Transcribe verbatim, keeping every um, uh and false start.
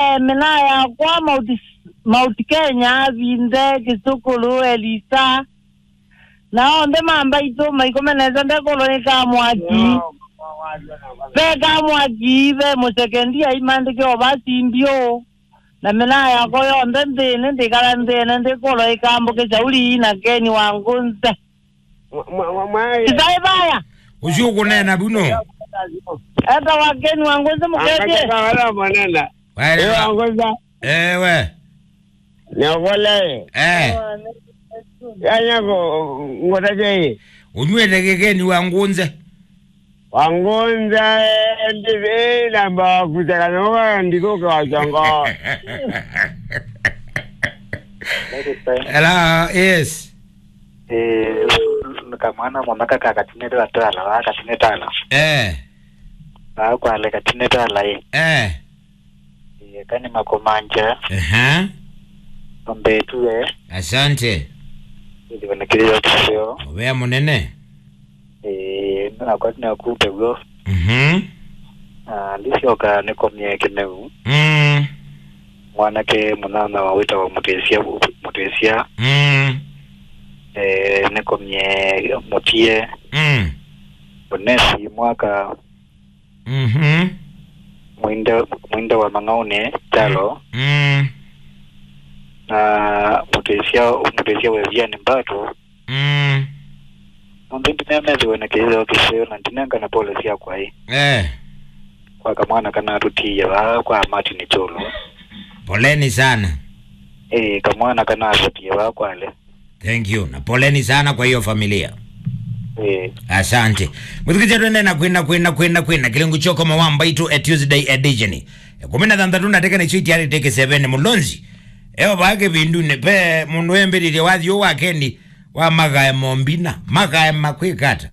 Eh, mĩnaa yakwa Mount, Mount Kenya, Vinde, Kĩsũkũlũ, Elisa. Na onthe ma mbaitũ maikũme nesa ndekũlwa nĩ kamwaki. Ve kamwaki, ve mũsekendia imandĩke ovasi mbiũ. Na mĩnaa yakwa yonthe nthĩnĩ, ndĩkala nthĩnĩ, ndĩkũlwa ĩkambũke Shauri na Keni wa Ngũnze. Mwa-, mwa-, mwa-, mwaĩ. Isaĩ vaya. Ũcio ũkũneena vu nũ? Eta wa Keni wa Ngũnze mũkethie. Angakeka wala mwanana. Waelewa. Ewa Ngũnze. Ewe. Nĩokolewe. Eh. Yanya ko ngotavye. Ũnywĩte kĩkeni wa Ngũnze. Wa Ngũnze, eh, ndi-, eh, namba wa kutaka nyoka ndithuke wa chongo. Hello, yes. Eh, kamwana mũmaka ka katinete wa twala, wa katinete ala. Eh. Wa kwale katinete ala, eh. Eh. Eh, kani makomanja. Ehe. Ombetue. Asante. Ndivonekeleyo kisio. Ovea mũnene. Eh, nakwa nakupe guo. Mhm. Ah, ndisyoka nĩkomie Kĩmeu. Mm. Mwanake mũnana wa wĩtawa Mũtĩsya, Mũtĩsya. Mm. Eh, nĩkomie Mũtie. Mm. Onesi Mwaka. Mhm. Mwinde, Mwinde wa Mang'aũnĩ, Kyalo. Mm. Na Mũtĩsya, Mũtĩsya Weviani Mbato. Mm. Onthe ndinemethiwe na kĩtheo kĩseo na ndinengane pole syakwa ĩ. Eh. Kwa kamwana kana tũtiie vaa kwa Martin Kyũlũ. Poleni sana. Eh, kamwana kana tũtiie vaa kwale. Thank you. Na poleni sana kwa hiyo familia. Eh. Asante. Mwĩthukĩĩsya twende na kwĩna, kwĩna, kwĩna, kwĩna. Kĩlungu kyokoma wa Mbaitũ e Tuesday edition. Ĩkũmi na thanthatũ ndatĩka nĩsyo itiarĩte kĩseveni mũlonzi. Eo vaa kĩvindunĩ ve mũndũ embĩrĩrye wathi ũũ wa Keni wa magae mombina. Magae makwĩkata.